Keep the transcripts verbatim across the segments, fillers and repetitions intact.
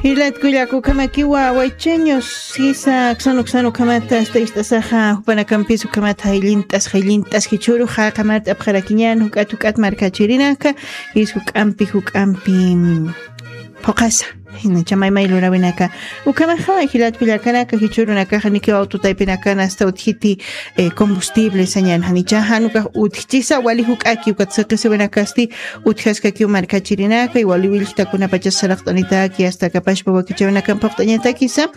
Jilat kullaka, ukhamakiwa waychiñus sisa, uksan uksan ukhamata asta ist'asaxa, jupanakampis ukhamata jayllint'as jayllint'as jichhüru jaqamat apxarakiñän juk'at juk'at markachirinaka, jis juk'ampi juk'ampi, mm, phuqhasa. Jinacha maymay luräwinaka. Ukhamaxa jilat kullakanaka, jichhürunakaxa nikiw autotaypinakan asta utjiti, eh, combustible sañän, janicha jan ukax utjchisa wali juk'aki ukat siqisiwinakasti utjaskakiw markachirinaka, y wali willjtakunapachas saraqt'anitaki asta kapashpa wakichäwinakan phuqt'añatakisa,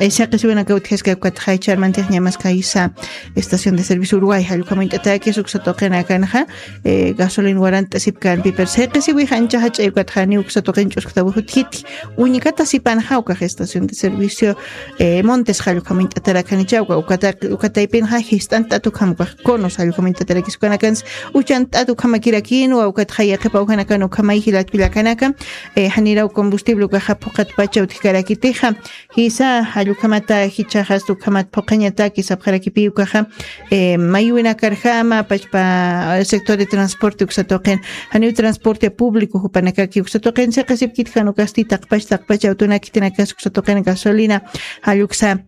eh, siqisiwinaka utjaskaki ukat jaychar mantix ñamas kaysa estación de servicio Uruguay jall ukhamint'atakis uksa tuqinakanxa, eh, gasolin warant'asipkänpi, pero siqisiwix ancha jach'ay ukat janiw uksa tuqin ch'usktawix utjiti. Uñkata sipanxa ukax estación de servicio, eh, Montes jall ukhamint'atarakanicha, uka, ukata, ukataypinxa jist'ant'at ukham ukax conos jall ukhamint'atarakis ukanakans, uchant'at ukhamakirakïnwa ukat jay yaqhip awjanakan ukhamay jilat kullakanaka, eh, janiraw combustible ukaxa phuqhatpacha utjkarakitixa, jisa jall ukhamata jichhaxa asta ukhamat phuqhañataki sapxarakipï ukaxa, eh, mayuwinakarjama pachpa, eh, sector de transporte uksa tuqin, janiw transporte público jupanakaki uksa tuqin siqisipkiti jan ukasti taqpach taqpach awtunak khitinakas uksa tuqin gasolina jall uksa,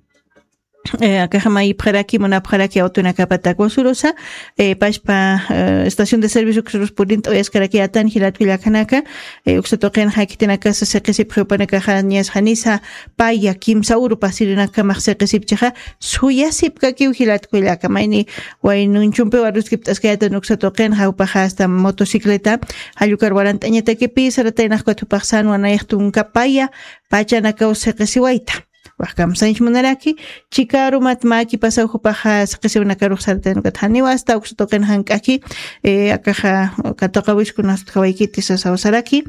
eh, akaxa mayipxaraki munapxaraki awtunakapatak wasurusa, eh, pachpa, eh, estación de servicio uksurus purint'awayaskaraki atan jilat kullakanaka, eh, uksa tuqinxa khitinakasa siqisipxi jupanakaxa niñas janisa paya kimsa uru pasirinakamax siqisipchixa, suyasipkakiw jilat kullaka, mayni waynunchumpiw aruskipt'askayatan uksa tuqinxa jupaxa asta motocicleta, jall ukar warant'añatakipï sarataynax ukat jupax sänwa nayax tunka paya pachanakaw siqisiwayta. Waj kamsañch munaraki, chikarumat mä kipasaw jupaxa siqisiwinakarux saratayna ukat janiw asta uksa tuqin jank'aki, eh, akaxa katuqawiskunas utjawaykiti sasaw saraki,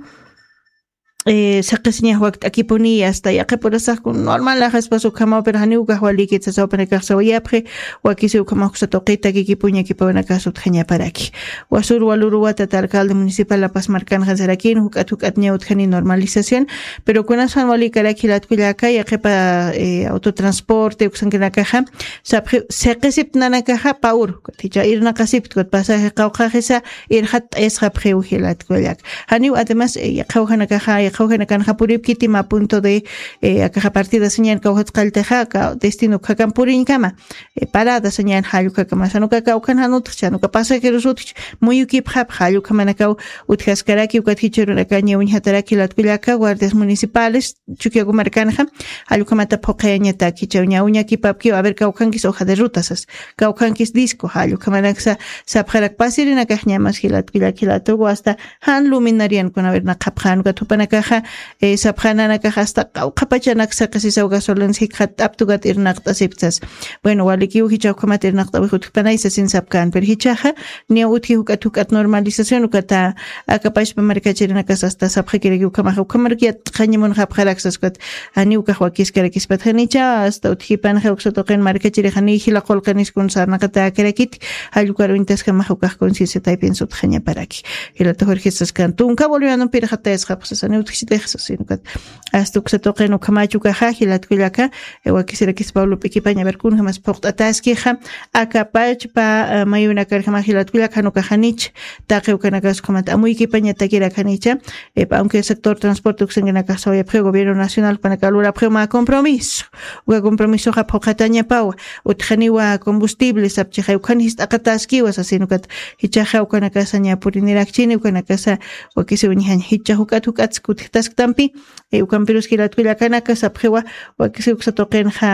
eh, siqisiñax wakt'akipuni asta yaqhip urasax kun normal ajaspas ukhamaw, pero janiw ukax walïkit sasaw jupanakax sawayapxi, wakisiw ukhamax uksa tuqi takikipuña kipawinakas utjañaparaki. Wasur waluruwa tata alcalde municipal La Paz markanxa sarakïn juk'at juk'at ña utjani normalización, pero kunas jan walïkaraki jilat kullaka, yaqhipa, eh, autotransporte uksankinakaxa sapxi siqisiptnanakaxa pä uru, ukat jichha irnaqasipkti ukat pasaje qawqhaxisa irxatt'ayasxapxiw jilat kullaka. Janiw además, eh, yaqha awjanakaxa, yaqha awjanakanxa puripkiti mä punto de, eh, akaxa partida sañän kawjat qalltaxa, aka destino ukhakan puriñkama, eh, parada sañän jall ukhakama, jan uka kawkhan jan utjchi, jan uka pasajeros utjchi, muyukipxapxi jall ukhamanakaw utjaskaraki, ukat jichhürunakaña uñjataraki jilat kullaka, guardias municipales, Chukiyawu markanxa, jall ukhamata phuqhayañataki, jichhaw ña uñakipapkiw, a ver, kawkhankis hoja de ruta sas, kawkhankis disco, jall ukhamanaksa sapxarak pasirinakax ñamas jilat kullaka, jilatuwa asta jan luminariankunaw irnaqapxän ukat jupanakaxa, eh, sapxänanakax asta qawqhapachanak siqisisaw gasolins jikxatt'apta ukat irnaqt'asipkta sas. Bueno, walikiw jichha ukhamat irnaqt'awix utjpanay sasin sapkän, pero jichhaxa niya utji juk'at juk'at normalización ukata aka pachpa markachirinakas asta sapxakiraki ukhamaxa, ukhamaraki yatxaña munxapxarak sas ukat, janiw ukax wakiskarakispat janicha asta utjipanxa uksa tuqin markachirix janiy jila qullqiniskun sarnaqatäkarakiti, jall ukar uñtaskamaxa ukax conciencia taypin sutxañaparaki. Jilata Jorge saskan tunka bolivianompir irxatt'ayasxapxi sas, janiw utjchitix sas, sino ukat asta uksa tuqin ukhamach ukaxa jilat kullaka, eh, wakisirakis Pablo P'ikipaña, a ver, kunjamas phuqt'ataskixa, aka pachpa, eh, mayunakarjama jilat kullaka, jan ukax janich taqi ukanakas ukhamat amuykipañatakirak janicha, eh, aunque sector transporte uksankinakax sawayapxiw gobierno nacional jupanaka lurapxiw mä compromiso, uka compromisoxa phuqhatañapawa, utjaniwa combustible sapchixay, ukhan jist'aqataskiwa sasin ukat, jichhaxa ukanakasa ña purinirakchini, ukanakasa wakisiw uñjaña, jichha juk'at juk'at kutjtasktampi, eh, ukampirus jilat kullakanaka sapxiwa, wakisiw uksa tuqinxa